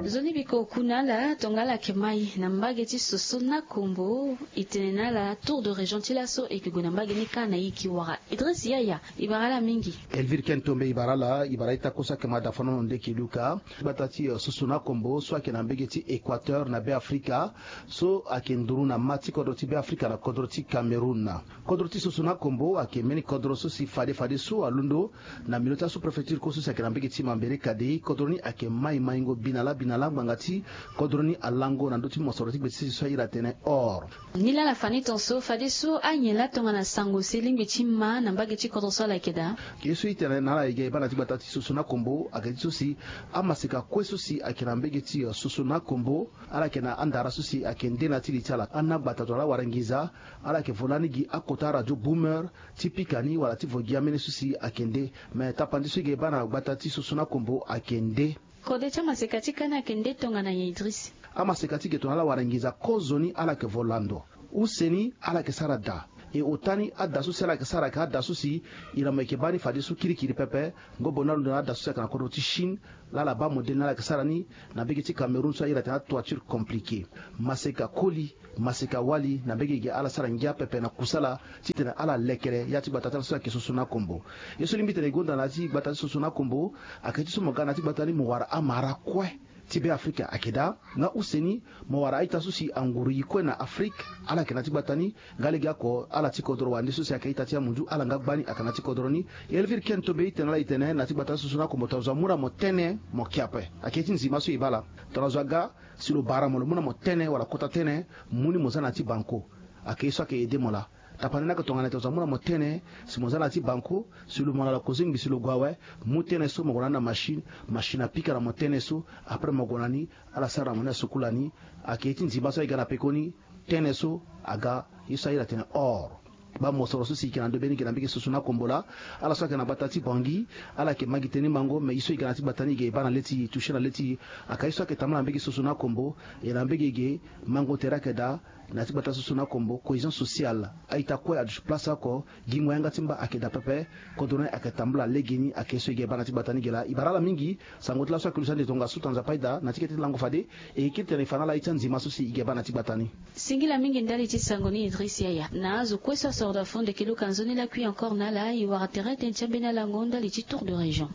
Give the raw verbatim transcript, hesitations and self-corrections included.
Nzoni biko ku na ala tongana ala yeke mai na mbage ti soso na kombo. E tene na ala tour de région ti laso e yeke gue na mbage ni kâ na e e yeke wara. Idriss Yaya, e bara ala mingi. Elvire Ken Tombe, e bara ala. E bara ita kue so ayeke ma dafa nono nde e yeke luka gbata ti soso na kombo so ayeke na mbage ti Équateur na Be Afrika, so ayeke nduru na ma ti kodro ti Be Afrika na kodro ti Cameroun. Kodro ti soso na kombo ayeke mbeni kodro so si fade fade so alondo na milieu ti asous-préfecture kue so si ayeke na mbage ti Mambere Kadei. Kodro ni ayeke mai maingo binala binala ngbanga ti kodro ni alango na ndö ti mosoro ti gbe ti sese so ahiri atene or. Nilaa ala fa ni tongaso fadeso anyen laa tongana sango si e lingbi ti ma na mbage ti kodro so ala yeke daa. Ye so e tene na ala e ga e baa na ti gbata ti soso na kombo ayeke ti so si amaseka kue so si ayeke na mbage ti soso na kombo, ala yeke na andara so si ayeke nde na ya ti li ti ala. Ana gbata tongana awara nginza, ala yeke vo lani gi akota radio boomer ti pika ni wala ti vo gi ameni so si ayeke nde. Me tapandi so e ga e baa na gbata ti soso na kombo ayeke nde. Kode ti amaseka ti kâ ni ayeke nde tongana nyen Idriss? Amaseka ti ge tongana ala wara nginza kozoni ala yeke vo lando. Use ni ala yeke sara daa. E ota ni ada so si ala yeke sara ayeke ada so si ira mo yeke baa ni fadeso kirikiri pepe. Ngobo ni alondo na ada so si ayeke na kodro ti Chine. Laa ala baa modele ni ala yeke sara ni na mbage ti Cameroun so ahiri atene atoiture compliquée. Maseka koli, maseka wali na mbage ge ala sara ngia pepe na kusala titene ala lekere ya ti gbata ti ala so ayeke soso na kombo. Ye so lingbi tene e gonda na ya ti gbata ti soso na kombo ayeke ti so mo ga na ya ti gbata ni mo wara amara kue ti Be Afrika ayeke daa. Nga use ni mo wara a-ita so si anguru e kue na Afrike, ala yeke na ya ti gbata ni. Nga lege oko ala ti kodro wande so si ayeke a-ita ti amunzu ala nga gbani ayeke na ya ti kodro ni. Elvire Ken Tombe, e tene na ala e tene na ya ti gbata ti soso na kombo tongana zo amu na mo tënë mo ke ape. Ayeke ti nzima so e baa ala. Tongana zo aga si lo bara mo lo mu na mo tënë wala kota tënë, mu ni mo za na ya ti banko. Ayeke ye so ayeke aidé mo laa. Tapani ni ayeke tongana tongana zo amu na mo tënë si mo za na ya ti banko, si lo mo na ala kozengbi si lo gue awe, mu tënë so mo gue na ni na machine. Machine apika na mo tënë so. Après mo gue na ni, ala sara na mo ni asukula ni. Ayeke ye ti nzima so aye ga na pekoni. Tënë so aga ye so ahiri atene or. Baa mosoro so si e yeke na ndö be ni ge na mbage soso na kombo laa. Ala so ayeke na gbata ti Bangui, ala yeke ma gi tënë ni mango, me ye so e ga na ya ti gbata ni e ga e baa na le ti e, e toucher na le ti e. Ayeke ye so ayeke tambula na mbage soso na kombo. E na mbage ge mango tere ayeke daa. Na ya ti gbata soso na kombo, cohésion sociale, a-ita kue aduti place oko. Gingo yanga ti mba ayeke daa pepe. Kodro ni ayeke tambula legeni. Ayeke ye so e ga e baa na ya ti gbata ni ge laa. E bara ala mingi. Sango ti laso ayeke lusa nde tongaso, tongaso Nzapa ayeda na ya ti kete ti lango fade. E yeke kiri tene e fa na ala ye ti anzima so si e ga e baa na ya ti gbata ni. Singila mingi ndali ti sango ni Idriss Yaya. Na azo kue so asoro daa fo nde e yeke luka nzoni lakui encore na ala, e wara tere tënë ti ambeni alango ndali ti tour de région.